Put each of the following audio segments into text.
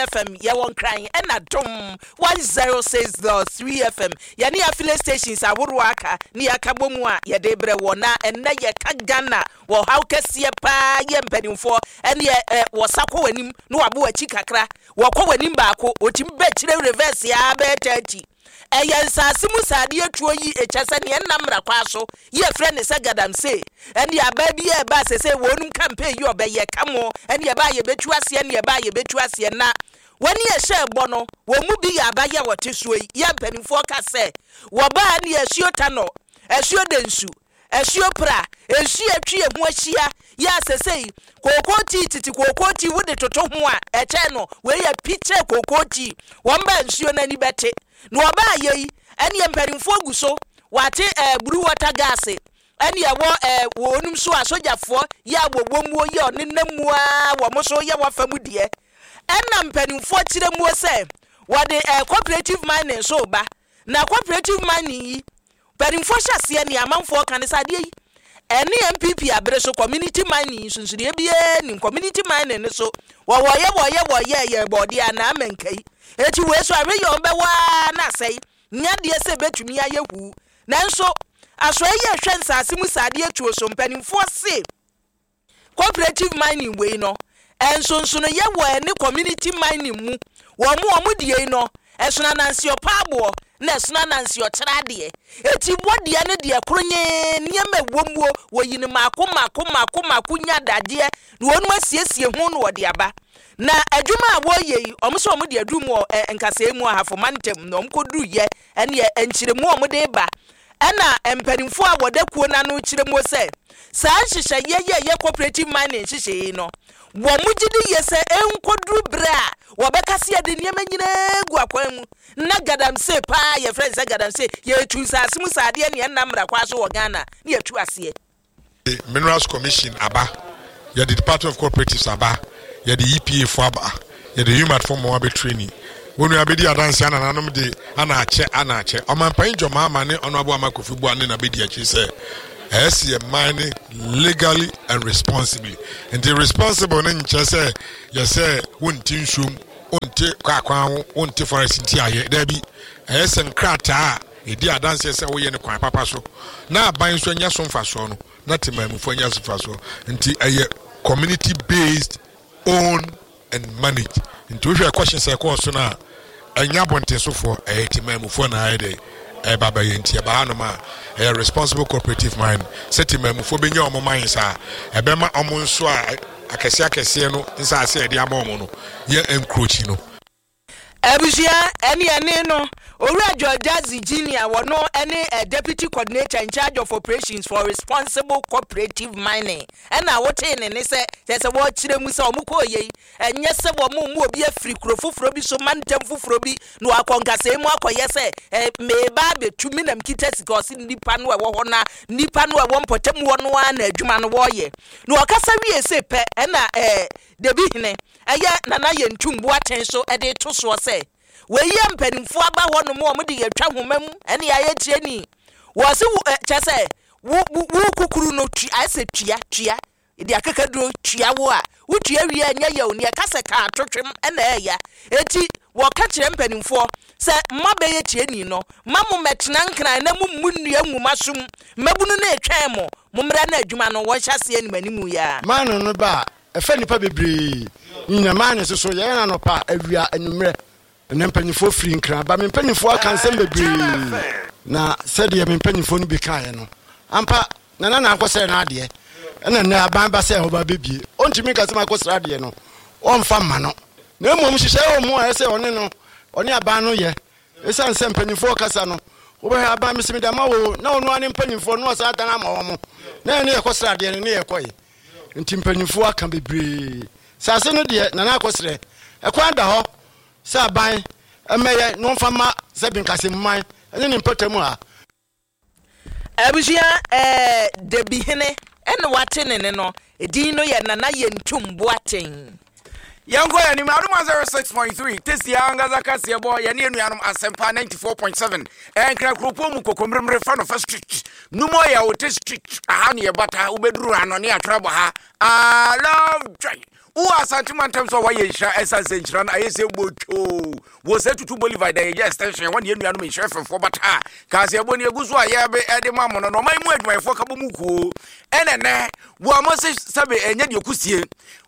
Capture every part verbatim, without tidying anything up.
F M yɛwɔ Nkran, ɛna Dom one zero six point three F M. Yɛne affiliate stations ahoroɔ aka ne yɛaka bɔ mu a yɛde brɛ wɔ. Na ɛnnɛ yɛka Ghana wɔ haw kɛseɛ paa yɛ mpanimfoɔ ɛne ɛ wɔsa kɔ w'anim na wabɔ w'akyi kakra, wɔkɔ w'anim baako, wɔtumi bɛkyerɛ reverse a bɛyɛ thirty. Ɛyɛ nsaase mu saadeɛ tuo yi ɛkyɛ sɛ neɛ nnam mmara kwa so yɛfrɛ ne sɛ galamsey. Ɛne aba bi a ɛba sɛ sɛ wɔnum campaign yi ɔbɛyɛ ka mo ɛne ɛba a yɛbɛtu aseɛ ne ɛba a yɛbɛtu aseɛ. Na wɔne ɛhyɛ bɔ no, wɔn mu bi yɛ abayɛ a wɔte soɔ yi. Yɛ mpanimfoɔ ka sɛ wɔbaa ne asuo Tanɔ, asuo Densu, asuo Pra, nsuo atwi eho ahyia yɛ asɛsɛ yi kookoo tii tete kookoo tii wode toto ho a ɛkyɛn no, wei yɛ pikyɛ kookoo tii. Wɔn ba nsuo n'ani bɛte na wɔbaa yɛ yi, ɛne mpanimfoɔ gu so wate ɛɛ blue water gas ɛne ɛwɔ ɛɛ wɔnum so a sogyafoɔ yɛ a wɔwɔ muo yɛ ɔnenam mu a wɔn so yɛ wɔfa mu deɛ. Ɛna mpanimfoɔ kyerɛ muo sɛ wɔde ɛɛ cooperative mining so ba. Na cooperative mining yi, mpanimfoɔ hyɛ aseɛ ne amanfoɔ ka ne sɛ adeɛ yi ɛne N P P abere so community mining nsonsonoeɛ biara nim. Community mining no so wɔwɔyɛ wɔyɛ wɔyɛ yɛ bɔɔdeɛ anaa mɛnka yi eti wei so ahwɛ yɛ wɔn bɛwɔ aa na asɛe nyadeɛ sɛ ebɛtumi ayɛ huu. Nanso asoɛ yi ɛhwɛ nsaase mu saadeɛ tuo so, mpanimfoɔ se cooperative mining wei no, nsonsonoyɛ wɔ ɛne community mining mu. Wɔn mu wɔn deɛ yi no, ɛsono anansi ɔpa aboɔ na ɛsono anansi ɔkyerɛ adeɛ. Eti wɔdeɛ no deɛ koro nyee nneɛma ɛwɔ muo wɔyi no mako mako mako mako nya dadeɛ na wɔn asiesie ho na wɔde aba. Na adwuma a wɔreyɛ yi, wɔn nso wɔn de aduru mu wɔ ɛ nkasɛɛ mu Ahafo Mantam na wɔn kɔduru yɛ ɛne nkyerɛmu a wɔde ba. Ɛna mpanimfoɔ a wɔda kuo n'ano kyerɛ mu sɛ saa nhyehyɛeɛ yɛ yɛ cooperative mining nhyehyɛeɛ yi no, wɔn mo gye di yie sɛ nkɔduru berɛ a wɔbɛka se yɛde nneɛma nyinaa gu akwan mu na galamsey paa yɛfrɛ no sɛ galamsey, yɛtu nsaase mu saadeɛ neɛ nnam mmara kwa so wɔ Ghana ne yɛtu aseɛ. Minerals Commission aba, yɛde Department of Cooperatives aba, yɛde E P A fo aba, yɛde U M A T fo mmoa bɛ training. Wɔn nua bɛdi adanse anananom de ana akyɛ ana akyɛ Ɔmanpanyin John Mahama ne Ɔno Ama Kofi Bua ne na bɛdi akyi sɛ ɛyɛ sɛ yɛ mine legally and responsibly. Nti responsible ne nkyerɛ sɛ yɛsɛ wonte nsuom, wonte kwaakwan ho, wonte forest nti ayɛ daabi. Ɛyɛ sɛ nkrataa a ɛdi adanseɛ sɛ woyɛ no kwan papa so na aban nso anya so mfasoɔ no na temammufoɔ anya so mfasoɔ. Nti ɛyɛ community based, own and manage. Nti wohwɛ ɛkɔhyɛ sɛ ɛkɔɔ so no a, ɛnyɛ abɔntensofoɔ, ɛyɛ temammufoɔ na ayɛ dɛ ɛba bɛyɛ. Nti ɛba hanom a, ɛyɛ responsible cooperative mine sɛ temammufoɔ bɛnya ɔmo mine saa ɛbɛma ɔmo nso a akɛseɛ akɛseɛ no nsaase a yɛde ama ɔmo no yɛ nkurokyi no. Abusua, ɛne ɛne no Owura George Dadzie Junior, wɔno ɛne uh, deputy coordinator in charge of operations for Responsible Cooperative Mining, ɛna wotee ne ne sɛ kyerɛ sɛ wɔkyerɛ mu sɛ ɔmo kɔɔ yei ɛnyɛ sɛ wɔn mu obi afiri kuro foforɔ bi so, mantam foforɔ bi na wakɔ nkasɛɛ mu akɔyɛ sɛ ɛ mmeeba abɛtu mi nam kita sika. Ɔsi nipa no ɛwɔ hɔ na nipa no ɛwɔ mpɔtam hɔ no ara na adwuma no wɔreyɛ. Na ɔkasa wie se pɛ, ɛna ɛɛ debi hene ɛyɛ Nana Yɛntum Boateng so ɛde to soɔ sɛ wɔyi mpanimfoɔ aba hɔ nom a wɔde yɛtwa homa mu ɛne ayɛ tie ni wɔsi wo ɛ kyɛ sɛ wo wo wo kukuru no tua ayɛ sɛ tua tua de akekaduro tua wo a wotua wie a nyɛ yɛ o neɛ kasa kaa totwem ɛna ɛɛya. Eti wɔka kyerɛ mpanimfoɔ sɛ mma bɛyɛ tie ni no ma mo mɛtena Nkran na mo mu nnua nwuma som mmabunu no etwɛn mo mo mmerɛ na adwuma no wɔnhyɛ aseɛ anim anim yi. Maano no ba a ɛfɛ nnipa bebree nyina maano soso yɛyɛ no anɔpa, awia, anwummerɛ. Ɛnɛ mpanyinfoɔ firi Nkran ba. Me mpanyinfoɔ aka nsɛm bebree na sɛdeɛ me mpanyinfoɔ no bi kaeɛ no ampa, Nana na akɔsrɛ no adeɛ ɛna nnɛ aban ba sɛ ɔba bɛbie. Ɔntumi nka sɛ makɔsrɛ adeɛ no ɔmfa mma no, na mmom hyehyɛ wɔ mu a ɛsɛ ɔne no ɔne aban no yɛ. Ɛsiane sɛ mpanyinfoɔ kasa no, wobɛhwɛ aban mesɛ mede ama wo na ɔno ane mpanyinfoɔ no ɔsan dan ama wɔ mo na ɛne yɛkɔsrɛ adeɛ no ne yɛkɔe. Nti mpanyinfoɔ aka bebree sase no deɛ Nana akɔsrɛ, ɛkwan da hɔ sɛ aban ɛmɛyɛ na ɔmfa ma sɛ binkasɛmman ɛne ne mpɔtam a. Abusua, ɛɛ debi hene ɛna wate ne ne no edin no yɛ Nana Yɛntum Boateng. Yɛnkɔ yɛn anim. Adom one oh six point three tesi ankasa kaseɛ bɔ yɛne anuanom Asɛmpa ninety-four point seven. Ɛnkra kuropɔn mu Kokommeremmere fa no fa street numu ɔyɛ wote street aha ne yɛbata wobɛduru ha no ne atwerɛ bɔ ha. I love joy. Wowɔ Asante mantam so a wɔayɛ nhyira, ɛsiane sɛ nhyira no ayɛ sɛ botwoo wɔ sɛ tutu Bolivar da yɛyɛ extension wɔne yɛn nuanom nhyira fɛfoɔ bata a kaaseɛbɔ ne ɛgu so a yɛbe ɛde ma mo no. Na ɔman mu adwumayɛfoɔ ka bɔ mu kuo ɛnɛ nɛ wɔ mo se sɛbe ɛnyɛ deɛ kusie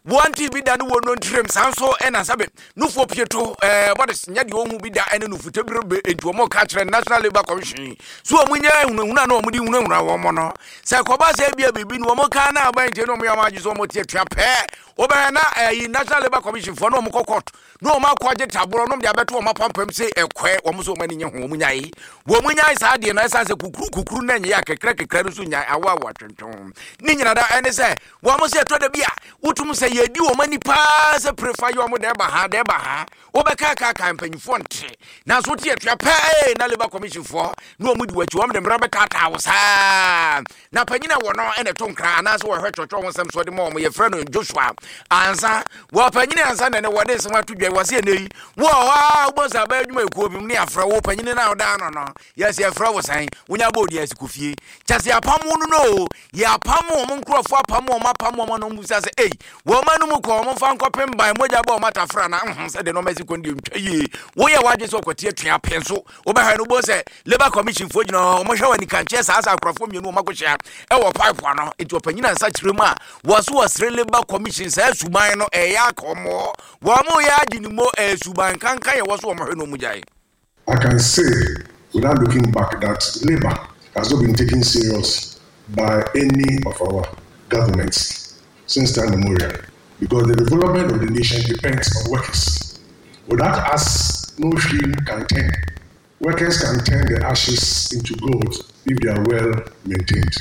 wɔnte bi da ne wɔ no ntirim, saa nso ɛna sɛbe nufoɔ pieto ɛɛ bɔde nyɛ deɛ ɔhu bi da ɛne nufutabere. Enti wɔn ka kyerɛ National Labour Commission so wɔn nyɛ hunahuna na wɔn de hunahuna wɔn no sɛ kɔba sɛ ebia biribi no wɔn ka na aban nkyɛn na wɔn yɛ wɔn agye so wɔn te atua pɛɛ wɔbɛyɛ na ɛyi National Labour Commission foɔ na wɔn kɔ court na wɔn akɔ agye taborɔ na wɔn de abɛto wɔn apampam sɛ ɛkɔɛ wɔn nso wɔn ani nye ho. Wɔn nyae wɔn nyae saa deɛ no, ɛsan sɛ kukuru kukuru na nyɛ akekra kekra no so nyae awo awo atwentwɛn ne nyina da. Ɛne sɛ wɔn sɛ ɛtɔ da bi a wotum sɛ yɛdi wɔn ani paa sɛ prefa yɛ wɔn dɛ ba ha dɛ ba ha, wobɛka kaka mpanyinfoɔ nte, nanso wote atua pɛɛ na Labour Commission foɔ na wɔn di wɔakyi, wɔn de mmara bɛtaataa wo saa. Na panyin a wɔ no ɛna ɛto nkra anaasɛ wɔhwɛ twɔtwɔ ho nsɛm so de ma wɔn, yɛfrɛ no Joshua Ansa. Wɔ panyin ansa na ne wɔde nsɛm ato dwa wɔ sɛ ɛnɛ yi wɔ hɔ a wobɔ sɛ abɛyɛ adwuma ekuo bi mu ne afrɛ wo panyin no a ɔda ano no, yɛsɛ yɛfrɛ wo sɛn, wonya bɔ odi asi kɔ fie kyɛ sɛ yɛapam wo no no o, yɛapam wɔn nkurɔfoɔ, apam wɔn, apam wɔn no bisa sɛ ei wɔn anum kɔ wɔn mfa nkɔpem ban mogya bɔ wɔn atafra na nhun sɛ de nɔɔma asi kɔn deɛ ntwa yie. Woyɛ wadwe sɛ ɔkɔte atua pɛ nso wobɛhwɛ no wobɔ sɛ Labour Commission foɔ gyina hɔ, wɔhwɛ wɔ anikankyɛ saa sɛ akorɔfoɔ mmienu wɔn akɔhyia ɛwɔ pipe ano. Nti ɔpanyin ansa kyerɛ mu a wɔ so wɔsere Labour Commission saa suban no ɛyɛ akɔmmɔ wɔn mo yɛ agye ne mo ɛyɛ suban kankan yɛ wɔ so wɔn hwɛ no mu gyae. I can say without looking back that labor has not been taken serious by any of our governments since time immemorial, because the development of the nation depends on workers. Without us, no wheel can turn. Workers can turn the ashes into gold if they are well maintained.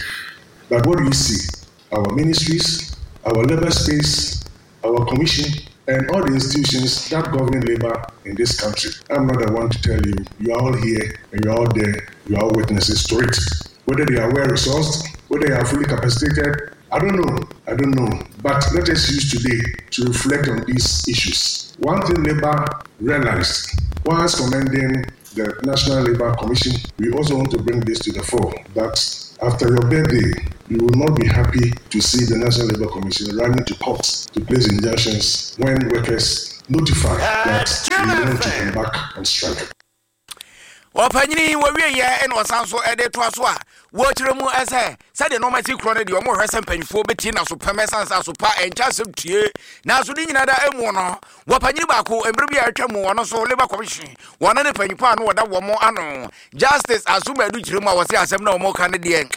But what do you see? Our ministries, our labor space, our commission, and all the institutions that govern labor in this country. I'm not the one to tell you. You are all here and you are all there. You are all witnesses to it. Whether they are well resourced, whether they are fully capacitated, I don't know. I don't know. But let us use today to reflect on these issues. One thing Labour realized, whilst commending the National Labour Commission, we also want to bring this to the fore, that after your birthday, you will not be happy to see the National Labour Commission running to court to place injunctions when workers notify that we want to embark on strike. Ɔpanyini wɔwie ɛna ɔsan so ɛde toa so a wɔkyerɛ mu ɛsɛ sɛdeɛ nɔɔma si korɔ no deɛ ɔmo hwɛ sɛ mpanyinfoɔ bɛtie na so pɛm ɛsan sɛ aso pa ɛnkyɛ asɛm tie. Nanso ne nyinaa da emu no, wɔpanyini baako mmerɛ bi a atwa mu, ɔno nso Labour Commission wɔn ne panyinfoɔ a no wɔda wɔn ano, Justice Asomadu, kyerɛ mu a wɔsɛ asɛm na wɔn ka no deɛ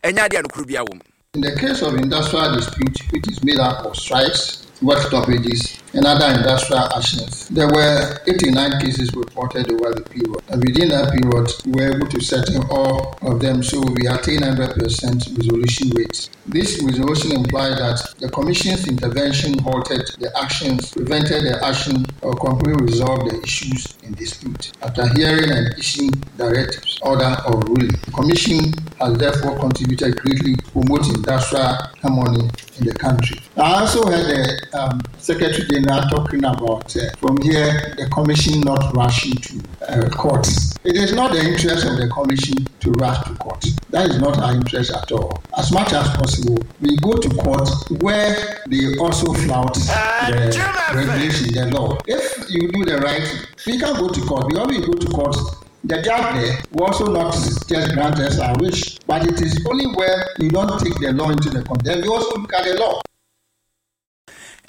ɛnyɛ adeɛ a nokoro bi awɔ mu. In the case of industrial dispute, which is made up of strikes, work stoppages, and other industrial actions, there were eighty-nine cases reported over the period. And within that period, we were able to settle all of them, so we attained one hundred percent resolution rate. This resolution implied that the Commission's intervention halted the actions, prevented the action, or completely resolved the issues in dispute. After hearing and issuing directives, order, or ruling, the Commission has therefore contributed greatly to promote industrial harmony in the country. I also heard the um, Secretary General talking about uh, from here the Commission not rushing to uh, court. It is not the interest of the Commission to rush to court. That is not our interest at all. As much as possible, we go to court where they also flout the regulation, the law. If you do the right thing, we can go to court. We only go to court, the judge there will also not just grant us our wish, but it is only where you don't take the law into the court. Then you also look at the law.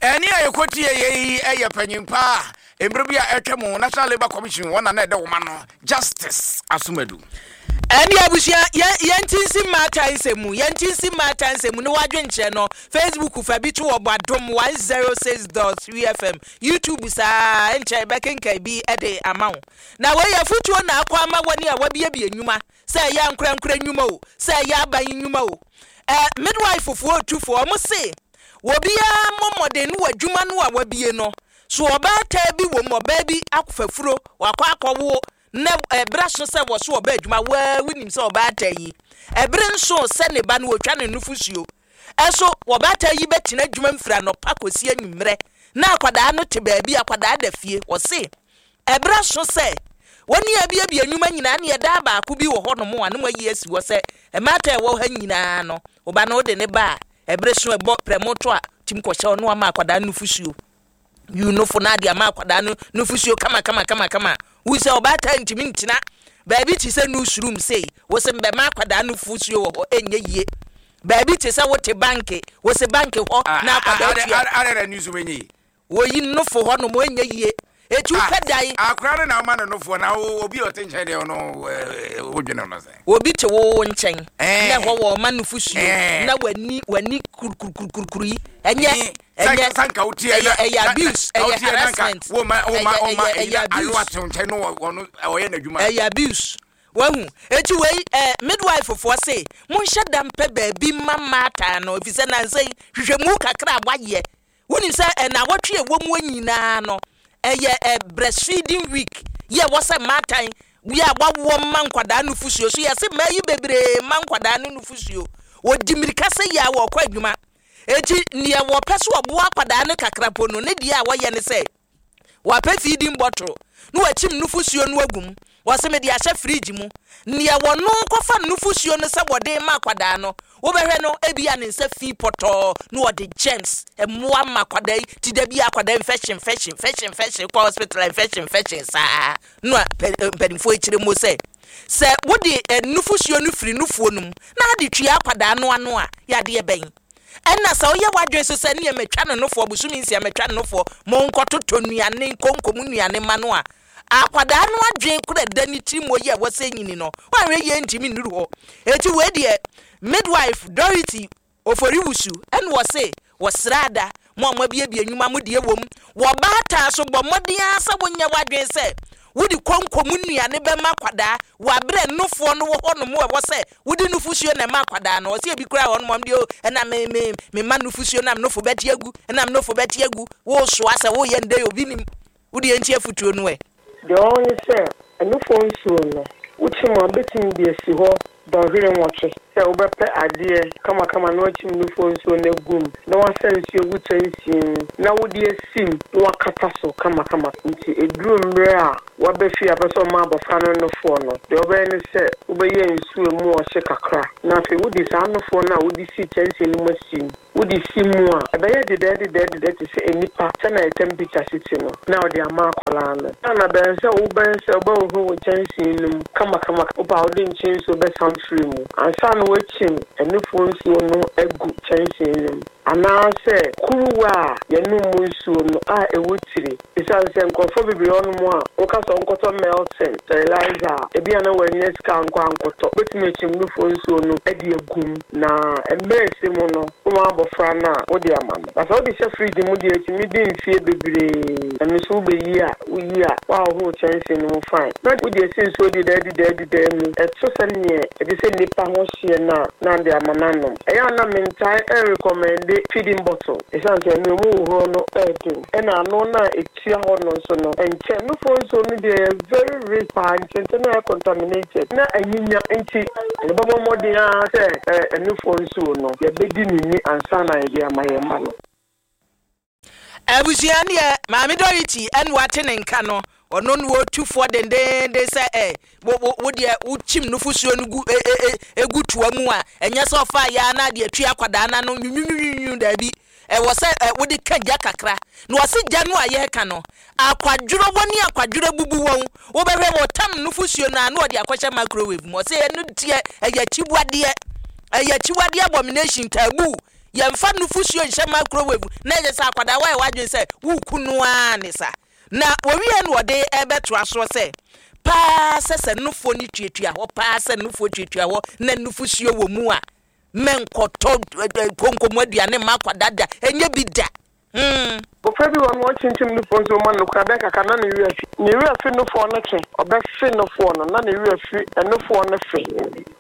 Ɛne a yɛkɔtie yɛ yi ɛyɛ panyimpa a mmerɛ bi a ɛtwa mu National Labour Commission wɔn na na ɛda wɔn ano, Justice Asomadu. Ɛne abusua, yɛnti nsi mmaata nsɛm mu, yɛnti nsi mmaata nsɛm mu ne wadwenkyerɛ no Facebook fa bi to wɔ Adom one zero six point three F M, YouTube saa nkyɛn bɛkenkan bi de ama wo. Na wɔyɛ afotuo na akɔ ama wɔne a wabiebie nnwuma, sɛ ɛyɛ ankorankora nnwuma o, sɛ ɛyɛ aban nnwuma o, ɛ midwife foɔ otufoɔ, ɔmo se obiara mmɔ mmɔden no wɔ adwuma no a wabie no so. Ɔbaataa bi wɔ mu, ɔbaa bi akɔfafuro wakɔ akɔwo na ɛberɛ so sɛ wɔ so ɔba adwuma waa, wonim sɛ ɔbaata yi ɛbere nso sɛ ne ba no wɔtwa ne nufosuo ɛso, wɔbaata yi bɛtena adwuma mfiri anɔpa kɔsi anwummerɛ na akwadaa no te baabi, akwadaa da fie. Wɔse ɛberɛ so sɛ wɔne abiabia nnwuma nyinaa ne ɛdaa baako bi wɔ hɔnom a ne mo ayi asi hɔ sɛ mmaata a ɛwɔ ha nyinaa no, ɔba no wode ne ba a ɛbere so ɛbɔ prɛmoto a Tim kɔhyɛ ɔno ama akwadaa no nufusuo. Yi nofo no ade ama akwadaa no nufusuo kama kama kama kama. Wo sɛ ɔbaatan ntumi ntena baabi te sɛ newsroom sei, wo sɛ mbɛma akwadaa no nufusuo wɔ hɔ, ɛnyɛ yie. Baabi te sɛ wote bank, wo sɛ bank hɔ na akwadaa tua. Adɛ na newsroom ɛnyɛ yie? Wɔyi nofo hɔ nom, ɛnyɛ yie. Eti wopɛ dan. Akora no na ɔma no nofoɔ na obi a ɔte nkyɛn deɛ ɔno wodwene no sɛ. Obi te wo nkyɛn na ɛhɔ wɔ ɔma nufusuo na w'ani w'ani kurukurukurukuru yi ɛnyɛ ɛnyɛ ɛyɛ ɛyɛ abuse, ɛyɛ harassment, ɛyɛ ɛyɛ abuse, ɛyɛ abuse. Wahu eti wei ɛɛ midwife foɔ se monhyɛ da mpɛ baabi ma mmaatan no, efisɛ nansa yi hwehwɛmu kakra a wayɛ wonim sɛ ɛnawɔtwe a ɛwɔ mu nyinaa no ɛyɛ ɛ breastfeeding week yɛ wɔ sɛ mmaatan yɛ a wawoɔ mma nkwadaa nufusuo so. Yɛse mmaa yi bebree mma nkwadaa no nufusuo, wɔdi mmirika sɛ yɛ a wɔkɔ adwuma, eti neɛ wɔpɛ so ɔboa akwadaa no kakra po no ne deɛ a wɔyɛ ne sɛ wɔapɛ feeding bottle na wɔakyim nufusuo no agu mu, wɔsɛ mede ahyɛ fridge mu. Neɛ wɔno kɔfa nufusuo no sɛ wɔde ma akwadaa no, wobɛhwɛ no ebia ne nsa fi pɔtɔɔ na wɔde germs mmoa ma akwadaa yi ti da bi akwadaa infection infection infection infection kɔ hospital, infection infection saa. Na mpanimfoɔ akyire mu sɛ sɛ wode nufusuo no firi nufuo no mu na ade tua akwadaa no ano a yɛadeɛ bɛn ɛna sɛ woyɛ w'adwene so sɛ neɛ matwa no nofoɔ bosome nsia, matwa no nofoɔ, monkɔtotɔ nnuane nkonkom nnuane ma no a, akwadaa no adwene kora da ne tirim wɔ yi a wɔsɛ nyini no woanhwɛ yie ntumi nnuru hɔ. Eti wei deɛ midwife Dorothy Oforiwusu ɛna wɔse wɔsrada mo a moabiebie nnwuma mo deɛ wɔ mu wɔ baataa so, bɔ mmɔden ara sɛ wonyɛ w'adwene sɛ wode konkom nnuane bɛma akwadaa wɔ aberɛ nufoɔ no wɔ hɔ nom ɛwɔ sɛ wode nufusuo na ɛma akwadaa no. Ɔsɛ ebi koraa hɔ nom deɛ o ɛna me me me ma nufusuo nam nofo bɛte agu, ɛnam nofo bɛte agu. Wosoa sɛ woyɛ ndɛ obi nim wode yɛnti afutuo no ɛ. Deɛ ɔwɔ ne sɛ ɛnufoɔ nsuo no wokyim a wobɛtumi de asi hɔ dɔnhwere nwɔtwe sɛ wobɛpɛ adeɛ kamakama na wakyim nufoɔ nsuo no agu mu na wasa nsuo gu kyɛnsee mu na wode asim na wakata so kamakama. Nti ɛduru mmerɛ a waba fie a pɛ sɛ ɔma abɔfra no nofoɔ no, deɛ wobɛyɛ ne sɛ wobɛyɛ nsuo mu ɔhye kakra na afei wode saa nofoɔ no a wode sii kyɛnsee no mu asim, wode si mu a ɛbɛyɛ dedɛɛdedɛɛdedɛ te sɛ nnipa sɛna yɛ temperature si te no na wode ama akwadaa no. Na bɛn sɛ wobɛn sɛ wobɛhohoro wo kyɛnsee no mu kamakama, wopɛ a wode nkyɛn nsuo bɛsan firi mu ansa na woakyim ɛnufoɔ nsuo no agu kyɛnsee no mu anaasɛ kuruwa a yɛnom mu nsuo no a ɛwɔ tiri. Ɛsiane sɛ nkurɔfoɔ bebree hɔ nom a woka sɛ wonkɔtɔ Melton sterilizer a, ebi a na wɔanya sika nkɔ ankɔtɔ, wobɛtumi akyim nufoɔ nsuo no de agu mu na mmerɛ ɛsɛ mu no woma abɔfra no a wode ama no. Na sɛ wode hyɛ fridge mu deɛ, ɛtumi di mfie bebree. Ɛno nso wobɛyi a woyi a woahohoro kyɛnsee no mu fine na wode asi nsuo dedaadidaadidaa mu ɛto sɛ neɛ ɛte sɛ nnipa ho hyeɛ no a na de ama no anom. Ɛyɛ a na mentae ɛnrecommende feeding bottle ɛsiane sɛ ɛno emu hohoro no ɛɛden ɛna ano no a ɛtua hɔ no nso no ɛnkyɛn. Nufoɔ nsuo no deɛ yɛ very rich paa, nkyɛnkyɛn na ɛyɛ contaminated na anyinya, nti yɛbɛbɔ mmɔden ara sɛ ɛnufoɔ nsuo no yɛbɛdi ne ni ansa na yɛde ama yɛn mma no. Abusua, neɛ maame Dorothy ɛne wate ne nka no, ɔno no wɔtufoɔ dendenden sɛ ɛ wo wo wo deɛ wokyim nufusuo no gu e e e egu toa mu a, ɛnyɛ sɛ ɔfa yɛ na deɛ tua akwadaa n'ano nwunwunwunwun. Daabi, ɛwɔ sɛ ɛ wode ka gya kakra na wɔsi gya no a yɛreka no akwadworɔ wɔ ne akwadworɔ bubu wɔn. Wobɛhwɛ wɔtam nufusuo no a na wɔde akɔhyɛ microwave mu. Ɔsɛ ɛno deɛ ɛyɛ akyiwadeɛ, ɛyɛ akyiwadeɛ, abomination, taboo. Yɛmfa nufusuo nhyɛ microwave na ɛyɛ sɛ akwadaa wayɛ wadwene sɛ wuku no ara ne sa. Na wɔwie no wɔde ɛbɛtoa soɔ sɛ paa sɛ sɛ nufoɔ no tuatua hɔ paa, sɛ nufoɔ tuatua hɔ na nufusuo wɔ mu a, mɛnkɔtɔ konkomu aduane mma akwadaa da, ɛnyɛ bi da. Hmm. Abɔfra bi wɔ no wɔkyinkyim nufoɔ nso ma no kora bɛyɛ kakra na ne werɛ afi, ne werɛ afi nufoɔ no twe, ɔbɛfe nufoɔ no na ne werɛ afi nufoɔ no fe.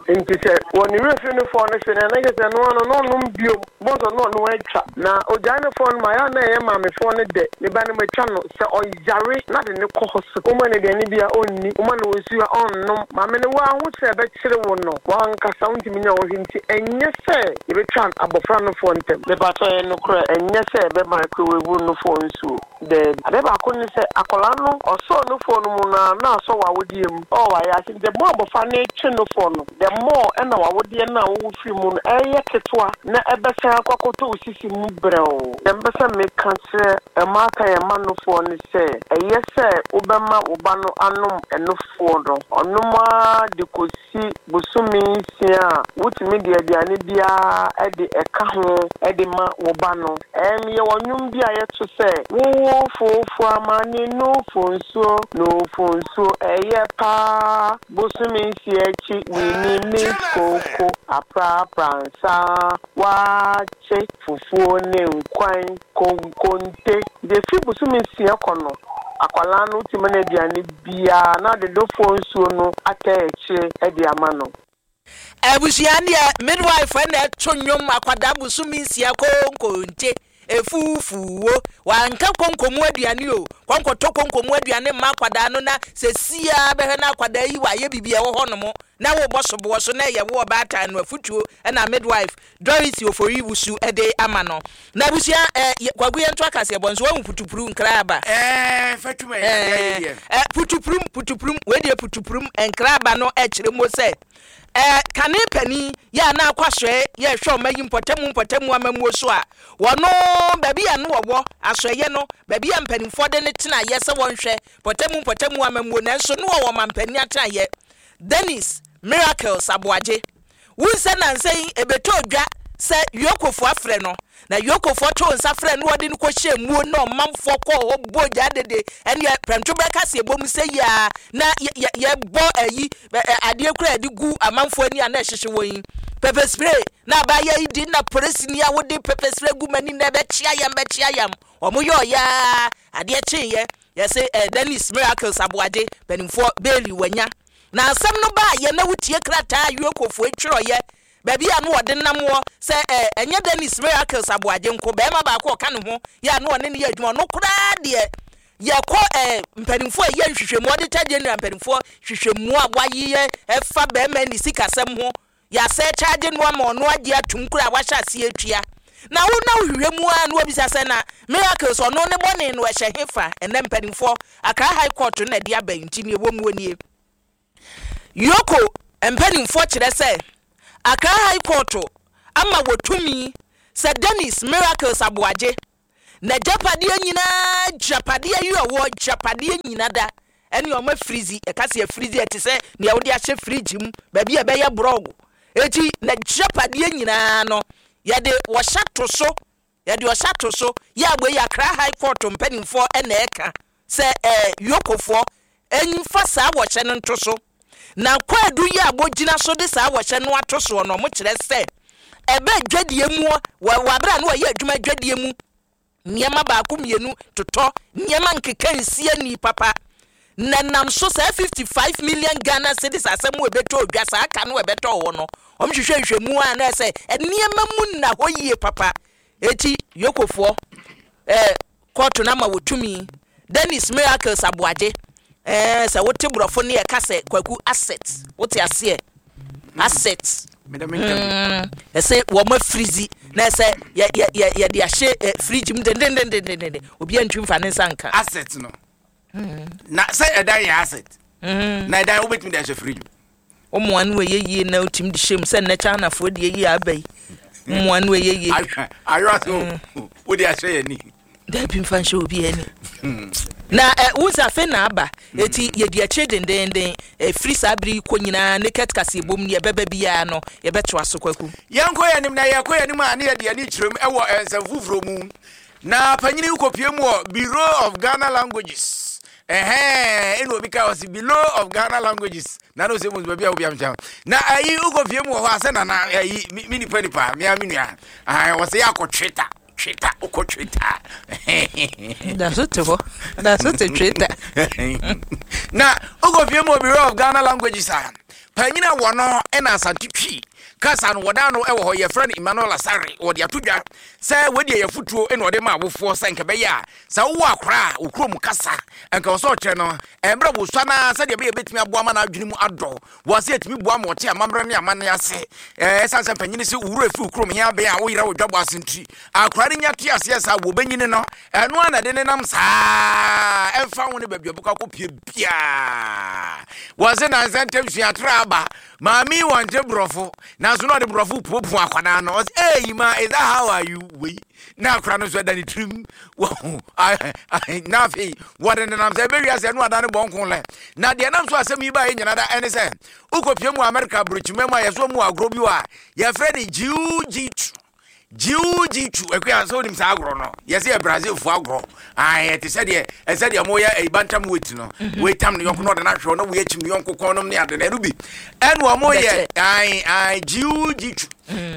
Nti sɛ wɔ ne werɛ fi nufoɔ no fe no, ɛna kyerɛ sɛ ɛno ano na ɔnom biom bɔsɔ na ɔno atwa na ogyae nufoɔ no ma ɛyɛ a na ɛyɛ maamefoɔ no dɛ ne ba no matwa no sɛ ɔyare na de ne kɔ hospital, woma no aduane bi a ɔnni, woma no nsuo a ɔnnom, maame no waa ho sɛ ɛbɛkyere wo no wankasa wontumi nya wo hwɛ. Nti ɛnyɛ sɛ yɛbɛtwa abɔfra nofoɔ ntɛm, mepatɔ yɛ nokorɛ, ɛnyɛ sɛ ɛbɛ microwave. Nufoɔ nsuo daabi. Ade baako ne sɛ akwadaa no ɔsɔɔ nufoɔ no mu na na asɔ w'awodeɛ mu ɔwɔ wayɛ ase. The more abɔfra no twe nufoɔ no, the more ɛna w'awodeɛ no a wowo firi mu no ɛyɛ ketewa na ɛbɛsan akɔ akɔtɔ wo sisi mu brɛw. Deɛ mpɛ sɛ meka kyerɛ mmaatan yɛn ma nufoɔ no sɛ ɛyɛ sɛ wobɛma wo ba no anom ɛnufoɔ no, ɔnom ara de kɔsi bosome nsia a wotumi de aduane biara de ɛka ho de ma wo ba no. Ɛm yɛwɔ nnwom bi a yɛto sɛ wowo fofo ama ne nufo nsuo, nufo nsuo ɛyɛ paa, bosome nsia akyi wini mi koko aprapra nsa waakye fufuo ne nkwan konkonte. Deɛ fi bosome nsia kɔ no, akwalaa no wotumi no aduane biara na de nufoɔ nsuo no atɛ akyire de ama no. Abusua, deɛ midwife ɛna ɛto nnwom akwadaa bosome nsia konkonte efufuo, wanka konkomu aduane o, kɔnkɔtɔ konkomu aduane mma akwadaa no na sɛsia bɛhwɛ na akwadaa yi wayɛ biribi a ɛwɔ hɔ nom na wobɔ soboɔ so na ɛyɛ wo ɔbaatan no. Afutuo ɛna midwife Dorothy Ofori Wusu ɛde ama no. Na abusua, ɛ Kwaku, yɛn to akaseɛ bɔ nso wɔn putupuru nkraba. Ɛɛ fɛtuma yɛ yɛ deɛ. Ɛ putupurum putupurum wei deɛ, putupurum nkraba no ɛkyerɛ mu sɛ ɛɛ kane panin yɛ a na akɔ asɔɛ yɛhwɛ ɔma yi mpɔtamu mpɔtamu amamuo so a wɔno baabi a no wɔwɔ asɔɛyɛ no, baabi a mpanimfoɔ de ne tena yɛ sɛ wɔnhwɛ mpɔtamu mpɔtamu amamuo, nanso no wɔwɔ mampanin atenaeɛ Dennis Miracles Aboagye wunsɛ nansa yi ebɛtɔ dwa sɛ yokofoɔ afrɛ no na yokofoɔ to nsa frɛ no, wɔde no kɔhyɛ muo na ɔmanfoɔ kɔɔ hɔ bɔ gya dede. Ɛneɛ prɛmto bɛka sɛ ɛbɔ mu sɛ yia na yɛbɔ ayi adeɛ kora yɛde gu amanfoɔ ani a na ɛhyehyɛ wɔn yi, pepper spray, na abaayɛ yi di na polisini a wode pepper spray gu m'ani na ɛbɛkyia yam bɛkyia yam. Wɔn yɛ ɔyaa adeɛ kyeeɛ yɛsɛ ɛ Dennis Miracles Aboagye mpanimfoɔ bail wanya. Na asɛm no baa yɛ na wotie krataa yokofoɔ twerɛyɛ baabi a no wɔde nam wɔ sɛ ɛ ɛnyɛ Dennis Miracles Aboagye nko, bɛrima baako ɔka ne ho yɛ a no ɔne ne yɛ adwuma. Ɔno koraa deɛ, yɛkɔ ɛ mpanimfoɔ a ɛyɛ nhwehwɛmu, auditor general mpanimfoɔ hwehwɛmu a wayeyɛ ɛfa bɛrima ne sikasɛm ho, yɛasɛ kyagye no ama ɔno agye atum koraa wahyɛ aseɛ atua. Na wo na wohwehwɛ mu a na wabisa sɛ na Miracles ɔno ne bɔne no ɛhyɛ he fa? Ɛnɛ mpanimfoɔ Accra High Court no na ɛde aba yi, nti ne ɛwɔ mu nie. Yoko mpanimfoɔ kyerɛ sɛ Accra High Court ama wɔtumi sɛ Dennis Miracles Aboagye n'agyapadeɛ nyinaa, gyapadeɛ yi ɔwɔ gyapadeɛ nyina da ɛne ɔma freeze. Ɛka sɛ freeze, ɛte sɛ nea wode ahyɛ fridge mu baabi a ɛbɛyɛ borɔgo. Eti n'agyapadeɛ nyinaa no yɛde wɔhyɛ to so, yɛde ɔhyɛ to so yɛ abɔ yi. Accra High Court mpanimfoɔ ɛna ɛka sɛ ɛɛ yokofoɔ ɛnfa saa wɔhyɛ no nto so. Na kwaadu yi a wɔgyina so de saa wɔhyɛ no ato soɔ no, ɔmo kyerɛ sɛ ɛbɛ dwadie mu wɔ wɔ abere a no wɔyɛ adwuma dwadie mu, nneɛma baako mmienu totɔ nneɛma nkeka nsia ni papa na nam so saa fifty five million Ghana cedis asɛm wo ɛbɛtɔ odwa saa aka no ɛbɛtɔ hɔ no, ɔmo hwehwɛ nhwɛmu a na ɛsɛ nneɛma mu nna hɔ yie papa. Eti yokofoɔ ɛɛ kɔɔto no ama wɔtumi Dennis Miracles Aboagye ɛɛ sɛ wote borɔfo ne yɛka sɛ Kwaku asset, wote aseɛ, asset ɛsɛ wɔn afreeze na ɛsɛ yɛ yɛ yɛ yɛde ahyɛ ɛ fridge mu dendendendenden, obi antwi nfa ne nsa nka. Asset no na sɛ ɛdan yɛ asset na ɛdan wobɛtumi de ahyɛ fridge mu. Ɔmoa no ɛyɛ yie na otumi de hyɛ mu sɛ nnɛ Chinafoɔ deɛ yie aba yi, mmoa no ɛyɛ yie. Ayɔ ase wode ahyɛ yɛ ni. Dabi, mfa nhyɛ obi ani na ɛ wusa afei na aba. Eti yɛdi akyire dendenden efiri saa bere yi kɔ nyinaa naked kase ebom ne yɛbɛba biara no yɛbɛtoa so, Kwaku. Yɛnkɔ yɛ anim na yɛkɔ yɛ anim a ne yɛde ani kyerɛm ɛwɔ nsɛm foforɔ mu na panyini kɔpie mu wɔ Bureau of Ghana Languages. Ɛhɛn, ɛna obi ka ɔsi Bureau of Ghana Languages na na ɔsɛ mu baabi a obi amkyɛn na ayi wokɔpie mu wɔ hɔ a sɛ nana ayi mi mi nipa nipa mea mi nua ahan wɔsɛ yɛ akɔ Twitter, Twitter, wokɔ Twitter. Da so te hɔ, da so te Twitter. Na wokɔpie mu wɔ Bureau of Ghana Languages a panyini a wɔ no ɛna Asante Twi Kasa no wɔda no ɛwɔ hɔ, yɛfrɛ no Emmanuel Asare. Wɔde ato dwa sɛ wɔde ɛyɛ fotuo ɛna ɔde ma awofoɔ sɛ nka bɛyɛ a sɛ wowɔ akora a okurom kasa nka wɔ sɛ ɔkyerɛ no ɛmmerɛ wosua na sɛdeɛ ɛbɛyɛ bɛtumi aboa ma n'adwene mu adɔ wɔ sɛ ɛtumi boa ma ɔte amammerɛ ne amanne ase. ɛɛ ɛsiane sɛ mpanyini sɛ wowura fi kurom hia bɛn a woyera wo dwabɔ ase nti akora no nya te aseɛ saa wɔbɛnyini no, ɛno a na de ne nam saa ɛmfa ho ne baabi a ɔbɛkɔ akɔpie biaa. Wɔ se nansa ntam suatrɛ aba maame yi wɔnte borɔfo, nanso na ɔde borɔfo puapua akwadaa no. Ɔsɛ, "Hey ma, is that how are you?" Wei na akora no nso ɛda ne tirim wɔho na afei wɔde nenam sɛ ɛbɛwia sɛ ɛno ada ne bɔnko lɛ. Na deɛ nam so asɛm yi baeɛ nyina da ɛne sɛ wokɔpie mu Amerika aburokyima mu a yɛso mu agorɔ bi wɔ a yɛfrɛ ne jiu-jitsu. Jiu-jitsu, akua, sɛ wonim saa agorɔ no, yɛsɛ yɛ Brazilfoɔ agorɔ. Ɛte sɛ deɛ ɛsɛ deɛ moyɛ ɛyi bantam weight no, weitam ne yɔnko na ɔde no ahwɛ na woyɛ kyim ne yɔnko kɔn nom ne ade na ɛno bi ɛne ɔmo yɛ ae jiu-jitsu.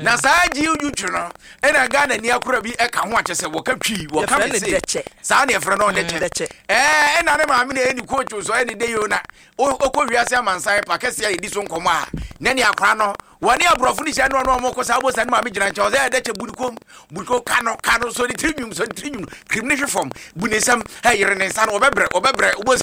Na saa jiu-jitsu no ɛna Ghana ni akora bi ɛka ho akyɛ sɛ wɔka Twi, wɔka me se saa ne yɛfrɛ no ɔdɛkyɛ. ɛɛ ɛna ne maame na ɛyɛ ne coach so ɛne de yo na ɔkɔ wiase amansan pa kɛseɛ a yɛdi so nkɔmmɔ a na ne akora no wɔne aborɔfo no hyia no ɔno ɔmo kɔ saa bosa ne maame gyina nkyɛn ɔsɛ ɛdɛkyɛ bu ne kom, bu ne kom, ka no, ka no so ne tiri nwum so ne tiri nwum kirim ne hwe fam, bu ne nsam ɛyere ne nsa no, ɔbɛbrɛ, ɔbɛbrɛ wobɔ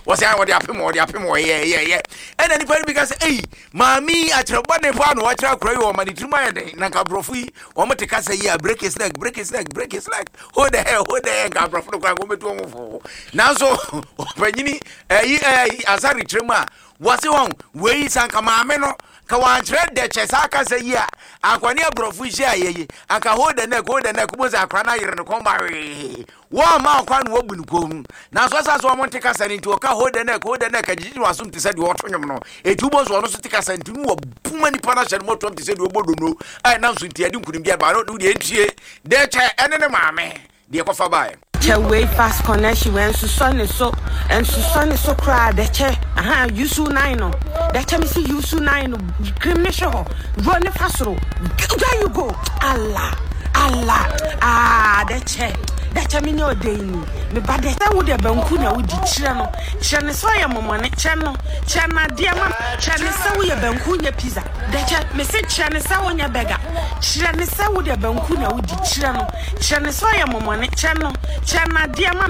wɔsɛ wɔde apem, wɔde apem, wɔyɛ yɛ yɛ. Ɛna nipa no bi ka sɛ, "Eyi maame akyerɛ bɔ ne pa na wɔakyerɛ akora yi wɔma ne tirim ayɛ den na nka aborɔfo yi wɔn te kasa yi a break his leg, break his leg, break his leg, hold the hair, hold the hair, nka aborɔfo no koraa wɔn bɛtu wɔn fo." Nanso ɔpanyini ɛyi ɛyi asare kyerɛ mu a wɔse wɔn wei sanka maame no ka wankyerɛ dɛkyɛ saa kasa yi a akwane aborɔfo hyia yɛ yi anka hold the neck, hold the neck, wobɔ sɛ akora no ayere ne kɔn ba wee wɔn ma ɔkwa no wɔbu ne kɔn mu. Nanso ɛsa so wɔn nte kasa no nti ɔka hold the neck, hold the neck agyegye no asom te sɛ deɛ ɔto nwom no. Eti wobɔ so ɔno so te kasa nti no wɔbuma nipa no ahyɛ no mɔtoam te sɛ deɛ ɔbɔ dono a ɛnam so nti ɛde nkunimdi aba no deɛ ntie dɛkyɛ ɛne ne maame deɛ kɔfa baeɛ. Kyɛ wei fast connection wei nsusɔ ne so, nsusɔ ne so koraa. Dɛkyɛ aha yusu nine no, dɛkyɛ mi si yusu nine no kirim ne hwɛ hɔ ro ne fa soro. There you go. Allah Allah, ah, dɛkyɛ, dɛkyɛ mi nye ɔde yi ni me ba. Dɛkyɛ, wo deɛ banku na wodi. Kyerɛ no, kyerɛ ne sɛ ɔyɛ mɔmɔne. Kyerɛ no, kyerɛ no adeɛ ma kyerɛ ne sɛ woyɛ banku nyɛ pizza. Dɛkyɛ, me se kyerɛ ne sɛ wonyɛ burger. Kyerɛ ne sɛ wo deɛ banku na wodi. Kyerɛ no, kyerɛ ne sɛ ɔyɛ mɔmɔne. Kyerɛ no, kyerɛ no adeɛ ma.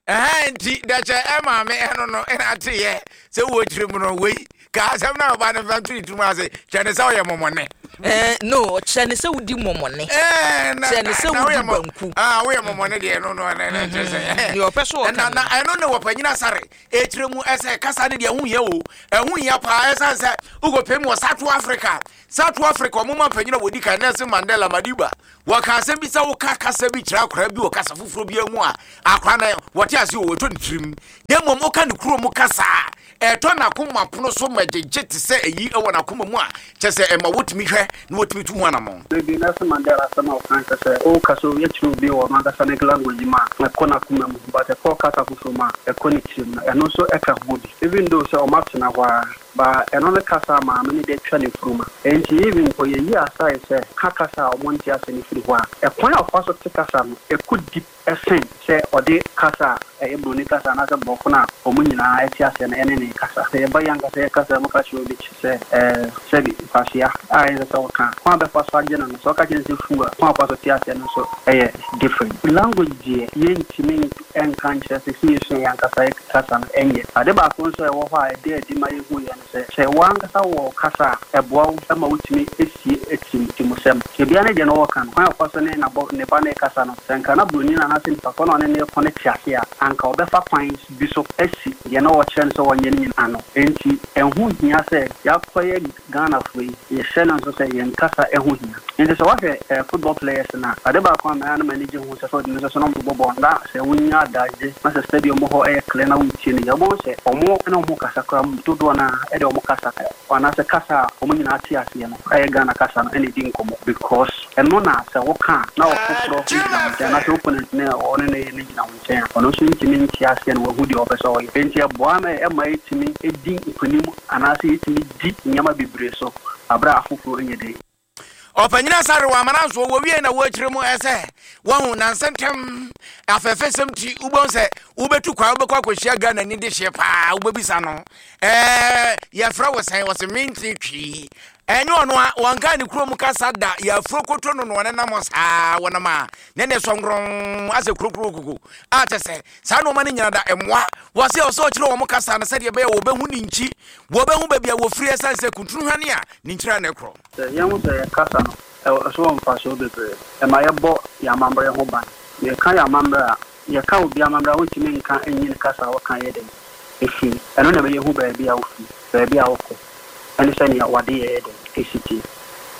Ɛhɛn, nti dɛkyɛ ɛmaame ɛno no ɛna ateyɛ sɛ wɔ kyerɛ mu no wei ka asɛm na ɔba no mfa nto ne tirim ase kyerɛ ne sɛ ɔyɛ mɔmɔne. Eh, no, kyerɛ ne sɛ wodi mɔmɔne. Kyerɛ ne sɛ wodi banku. Ah, woyɛ mɔmɔne deɛ no no ɛnɛ ɛnɛ kyerɛ sɛ deɛ ɔpɛ so ɔka. Na na ɛno ne wɔpanyina sare ɛkyerɛ mu ɛsɛ kasa ne deɛ ɛho hia o, ɛho hia paa. Ɛsiane sɛ wokɔpɛ mu wɔ South Africa, South Africa ɔmo ma mpanyina wɔdi kan Nelson Mandela Madiba wɔka asɛm bi sɛ woka kasa bi kyerɛ akwaraa bi wɔ kasa foforɔ bi mu a, akwaraa no wɔte ase o, wɔtɔ ne tirim, na mmom woka ne kuro mu kasa a ɛtɔ n'akoma pono so ma gyegye te sɛ ɛyi ɛwɔ n'akoma mu a kyɛ sɛ ɛma wotumi hwɛ na wotumi tu ho anammɔn. Maybe Nelson Mandela asɛm a ɔka kyerɛ sɛ ɔka sɛ yɛkyerɛ obi wɔ ɔno ankasa ne language mu a ɛkɔ n'akoma mu, but ɛkɔ kasa foforɔ mu a ɛkɔ ne tirim no, ɛno nso ɛka ho bi. Even though sɛ ɔmo atena hɔ a ba ɛno ne kasa a maame ne de atwa ne furum a nti even mpo yɛyi asae sɛ ka kasa a ɔmo nte ase ne firi hɔ a, ɛkwan a ɔfa so te kasa no ɛkɔ deep ɛsen sɛ ɔde kasa a ɛyɛ buroni kasa anaasɛ borɔfo no a ɔmo nyinaa ɛte aseɛ no ɛne ne kasa. Sɛ yɛba yɛn ankasa yɛ kasa mu ka kyerɛ obi sɛ ɛɛ sɛbi nkwasea a ɛyɛ sɛ ɔka kwan a bɛfa so agye no no sɛ ɔka kyerɛ no sɛ fu a kwan a ɔfa so te aseɛ no nso ɛyɛ different. Language deɛ, yɛntumi ɛnka nkyerɛ sɛ sɛ yɛsua yɛn ankasa yɛ kasa no ɛnyɛ ade baako nso a ɛwɔ hɔ a ɛde adi ma yɛhu yɛ no sɛ sɛ wɔankasa wɔ kasa a ɛboa wo ma wotumi esie etim timusɛm ebia ne deɛ no wɔka no kwan a ɔfa so ne nabɔ ne ba ne kasa no, sɛ nka na buroni no anaasɛ nipa kɔ na ɔne ne kɔ ne te ase a, anka ɔbɛfa kwan bi so asi deɛ na wɔkyerɛ no sɛ wɔnyɛ no nyina ano. Nti ɛho hia sɛ yɛakɔyɛ Ghanafoɔ yi, yɛhyɛ no nso sɛ yɛn kasa ɛho hia. Nti sɛ woahwɛ eh, football players no a, ade baako a mɛa no m'ani gye ho sɛ sɛ ɔde no sɛ so na ɔmo bɔ bɔɔl na sɛ wonya adagye na sɛ stadium hɔ ɛyɛ clear na wotie no yɛ, wobɛhu sɛ ɔmo ne ɔmo kasa koraa mu dodoɔ no a ɛde ɔmo kasa anaasɛ kasa a ɔmo nyinaa te aseɛ no ɛyɛ Ghana kasa no ɛna ɛdi nkɔmmɔ, because ɛno na sɛ woka a na ɔfoforɔ gyina wo nkyɛn anaasɛ opponent ne ɔne ne ne gyina wo nkyɛn a ɔno nso ntumi nte aseɛ no wahu deɛ ɔpɛ sɛ ɔyɛ. Nti ɛboa ma ɛma yɛtumi di nkonim anaasɛ yɛtumi di nneɛma bebree so aberɛ a afoforɔ nyɛ den. Ɔpanyina sare wɔ amana nso wɔwie na wɔakyerɛ mu ɛsɛ wɔhu nansɛntɛm afɛfɛsɛm ti wobɛhu sɛ wobɛtu kwan wobɛkɔ akɔhyia Ghana ni de hyeɛ paa, wobɛbisa no ɛɛ yɛfrɛ wo sɛn? Wɔsɛ mente Twi. Ɛnyɛ ɔno a wɔnka ne kurom kasa da, yɛafuro koto no na ɔne nam saa wɔnam a ne ne sɔnkorɔn asɛ kurokuro koko a kyɛ sɛ saa nneɛma no nyina da mmoa wɔ sɛ ɔsɛ ɔkyerɛ wɔn kasa no sɛdeɛ ɛbɛyɛ wɔbɛhu ne nkyi, wɔbɛhu baabi a wɔfiri, ɛsiane sɛ kuntunu hwane a ne nkyira ne korɔ. Sɛ yɛhu sɛ yɛ kasa no ɛwɔ so wɔ mfasoɔ bebree. Ɛma yɛbɔ yɛn amammerɛ ho ban. Yɛka yɛn amammerɛ a, yɛka obi amammerɛ a, wontumi nka nyi ne kasa a wɔka yɛ dɛn ɛfiri. Ɛno na ɛbɛyɛ hu baabi a wofiri, baabi a wokɔ, ɛne sɛnea wade yɛ dɛn ɛsi tie.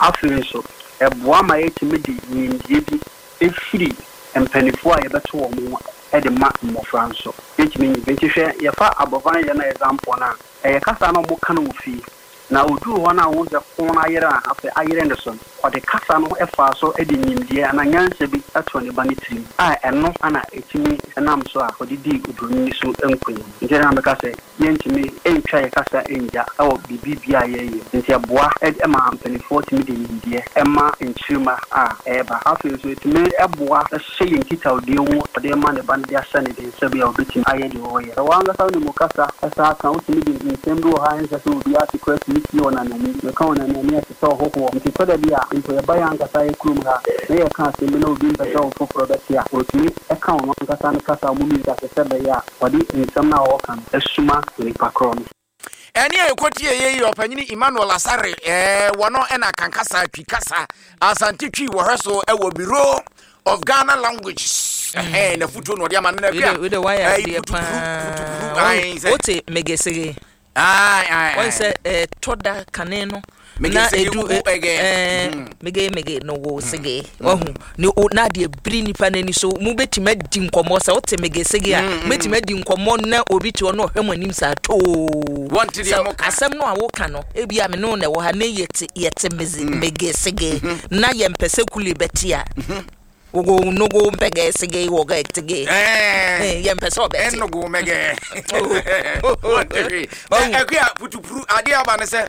Afei nso ɛboa ma yɛtumi de nimdeɛ bi ɛfiri mpanimfoɔ a yɛbɛto wɔn ho ɛde ma mmɔfra nso. Yɛtumi nyi nti hwɛ, yɛfa abɔfra no yɛ no example no a, ɛyɛ kasa na ɔmo ka no wɔ fie na oduru hɔ no a, wɔn sɛ ko no ayere a, afei ayere ne so no, ɔde kasa no ɛfaa so de nimdeɛ anaa nyansa bi ɛto ne ba ne tirim a, ɛno ana ɛtumi ɛnam so a ɔde dii oburoni so nkonim. Nti na mɛka sɛ yɛntumi ɛntwa yɛ kasa ɛngya ɛwɔ biribi bia a yɛyɛ. Nti ɛboa ɛma mpanimfoɔ tumi de nimdeɛ ɛma nkyirima a ɛɛba. Afei nso ɛtumi ɛboa ɛhyɛ yɛn nkitahodie mu, ɔde ma ne ba no de ahyɛ ne den sɛ bia ɔbɛtumi ayɛ deɛ ɔyɛ. Ɛwɔ ankasa wo ne mu kasa ɛsa aka, wotumi de nsɛm bi wɔ ha, ɛnsɛ sɛ obi ate koraa tumi tie wɔ nanani. Meka wɔ nanani, ɛte sɛ ɔhohoɔ. Nti tɔ da bi a mpo yɛba yɛ ankasa yɛ kurom ha na yɛka asɛm bi na obi mpɛ sɛ ɔfoforɔ bɛte a, ɔtumi ɛka ɔno ankasa ne kasa a ɔmo mmienu ase sɛ bɛyɛ a ɔde nsɛm no a ɔwɔka no ɛsuma nipa korɔ no. Ɛne a yɛkɔtie yɛ yi, ɔpanyini Emmanuel Asare, ɛɛ wɔno ɛna kankasa Twi kasa, Asante Twi, wɔhwɛ so ɛwɔ Bureau of Ghana Languages. Ɛhɛn na futuo na ɔde ama no na wede wede wayɛ adeɛ paa. Wote megesege wɔn sɛ ɛtɔ da kane no na edu ɛɛ mege mege no wo sege wahu ne o na adeɛ biri nipa n'ani so, mu bɛtumi adi nkɔmɔ. Sɛ wote mege sege a, mɛtumi adi nkɔmɔ na obi te hɔ na ɔhwɛ mo anim saa too. Wɔnte deɛ sɛ mo ka. Asɛm no a woka no, ebi a me ne wo na ɛwɔ ha ne yɛte yɛte meze mege sege na yɛmpɛ sɛ kule bɛte a, wogo nogo mpɛgɛ sege wɔgɛ tege. Ɛɛ yɛmpɛ sɛ ɔbɛte. Ɛnogo mɛgɛ. Oh. Ɛkua putupuru adeɛ aba ne sɛ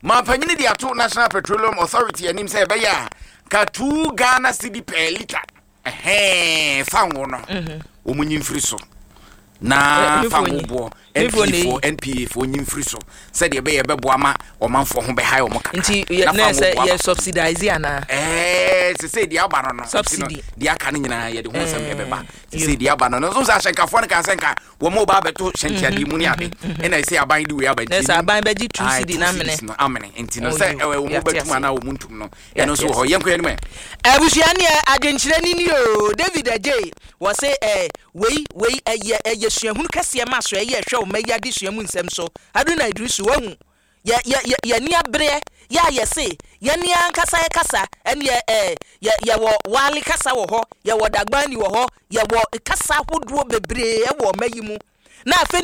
mampanyini de ato National Petroleum Authority anim sɛ ɛbɛyɛ a ka two Ghana cedi per litre ɛhɛn fango no wɔn nyi mfiri so na Eh, fango mefo nyi. boɔ Mefo N P A na foɔ N P A foɔ nyi mfiri so sɛdeɛ ɛbɛyɛ ɛbɛboa ma ɔmanfoɔ ho bɛhae wɔn kakra. Nti yɛ na na fango sɛ boɔ yɛ aba. Subsidize anaa? Ɛɛ sese deɛ aba no no nti no, Subsidy. deɛ aka no nyinaa yɛde ho nsɛm ɛbɛba. Yo. Sese deɛ aba no no nso sɛ ahyɛnkafoɔ no kaa sɛ nka wɔn mo ba abɛto hyɛntiadeɛ mu ne ade, ɛna ɛsɛ aban de wei aba. Na sɛ aban bɛgye two Aye, cedi two na amene. cedis no amene. Nti no Oh, sɛ yo. ɛwɔ wɔn Yɛate bɛtum ase. anaa wɔn ntum no, Yɛate ɛno nso wɔ hɔ. ase. Yɛnkɔ yɛn anim ɛ. Abusua neɛ adwenkyerɛ ni ni o. David Agye wɔ se ɛ wei wei ɛyɛ ɛyɛ suahunu kɛseɛ ma so ɛyɛ ɛhwɛ ɔma yi ade sua mu nsɛm so. Haruna Idrisu, wahu yɛ yɛ yɛ yɛni abereɛ yɛ a yɛse yɛni ankasa yɛ kasa ɛneɛ ɛ yɛ yɛwɔ Waale kasa wɔ hɔ, yɛwɔ Dagbani wɔ hɔ, yɛwɔ kasa ahodoɔ bebree ɛwɔ ɔma yi mu na afei